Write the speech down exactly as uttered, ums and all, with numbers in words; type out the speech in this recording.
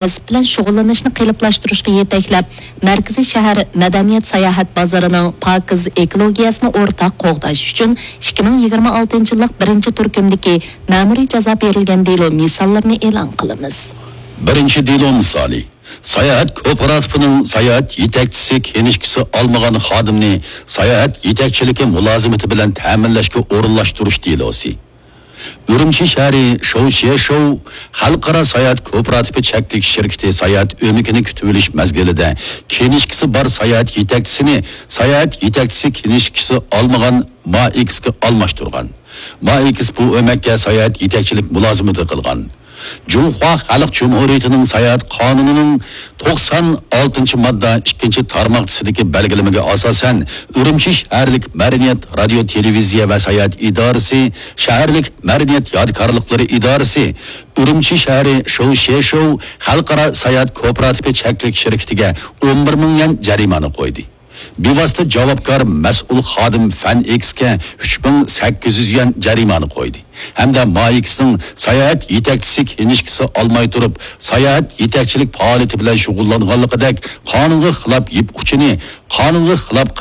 مۇناسىۋىتى بىلەن شۇغۇللىنىشنى قېلىپلاشتۇرۇشقا يېتەكلەپ، مەركىزىي شەھەر مەدەنىيەت ساياھەت بازىرىنىڭ پاكىز ئېكولوگىيەسىنى ئورتاق قوغداش ئۈچۈن ئىككى مىڭ يىگىرمە ئالتىنچى يىللىق بىرىنچى تۈركۈمدىكى مەمۇرىي جازا بېرىلگەن دېلو مىساللىرىنى ئېلان قىلىمىز. بىرىنچى دېلو مىسالى. ساياھەت كوپىراتىپىنىڭ ساياھەت يېتەكچىسى كىنىشكىسى ئالمىغان خادىمنى ساياھەت يېتەكچىلىكى مۇلازىمىتى بىلەن تەمىنلەشكە ئورۇنلاشتۇرۇش دېلوسى. ئۈرۈمچى شەھىرى شوۋ شيەشوۋ خەلقئارا ساياھەت كوپىراتىپى چەكلىك شىركىتى ساياھەت ئۆمىكىنى كۈتۈۋېلىش مەزگىلىدە كىنىشكىسى بار ساياھەت يېتەكچىسىنى ساياھەت يېتەكچىسى كىنىشكىسى ئالمىغان مائېكسكا ئالماشتۇرغان. مائېكس بۇ ئۆمەككە ساياھەت يېتەكچىلىك مۇلازىمىتى قىلغان. جۇڭخۇا خەلق جۇمھۇرىيىتىنىڭ ساياھەت قانۇنىنىڭ توقسان ئالتىنچى ماددا ئىككىنچى تارماقچىسىدىكى بەلگىلىمىگە ئاساسەن، ئۈرۈمچى شەھەرلىك مەدەنىيەت، رادىيو، تېلېۋىزىيە ۋە ساياھەت ئىدارىسى، شەھەرلىك مەدەنىيەت يادىكارلىقلىرى ئىدارىسى، ئۈرۈمچى شەھىرى شوۋ شيەشوۋ خەلقئارا ساياھەت كوپىراتىپى چەكلىك شىركىتىگە ئون بىر مىڭ يۈەن جەرىمانە قويدى. بىۋاسىتە جاۋابكار مەسئۇل خادىم فەن ئېكسكە ئۈچ مىڭ سەككىز يۈز يۈەن جەرىمانە قويدى ھەمدە مائېكسنىڭ ساياھەت يېتەكچىسى كىنىشكىسى ئالماي تۇرۇپ، ساياھەت يېتەكچىلىك پائالىيىتى بىلەن شۇغۇللانغانلىقىدەك قانۇنغا خىلاپ يىپ ئۇچىنى، قانۇنغا خىلاپ